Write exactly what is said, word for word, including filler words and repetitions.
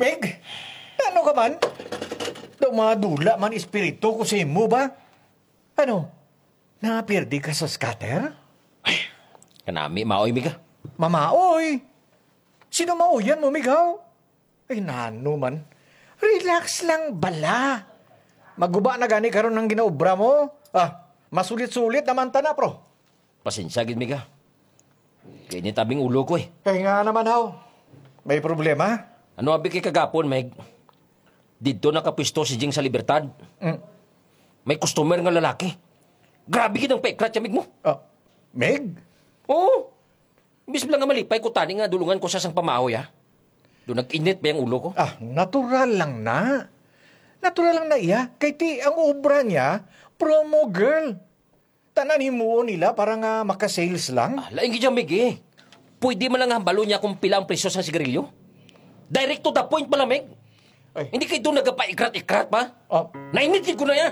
Meg, ano ka man? Daw madula man espiritu ko sa imo ba? Ano, napirdi ka sa scatter? Ay, kanami, maoy, Miga. Mamaoy? Sino maoyan mo, Migaw? Ay, nano man. Relax lang bala. Maguba na gani karon ang ginaobra mo. Ah, masulit-sulit naman ta na, pro. Pasensya gid, Miga. Kay nitabing ulo ko eh. Kay nga naman, haw. May problema? Ano abi kay kagapon, Meg? Didto nakapwesto si Jing sa Libertad. Mm. May customer nga lalaki. Grabe gid ang paikrat siya, Meg mo. Ah, Meg? Oo. Imbis lang nga malipay ko tani nga dulungan ko sa sang pamahoy, ha? Do nag-init ba ang ulo ko? Ah, natural lang na. Natural lang na iya. Kay ti, ang obra niya, promo girl. Tanan himuon nila para nga makasales lang. Ah, lain gid, Mig, eh. Pwede man lang hambalo niya kung pila ang presyo sa sigarilyo. Direct to the point pala, Mig. Ay. Hindi kayo doon nagpaikrat-ikrat pa? Oh. Nainit gid ko na ya.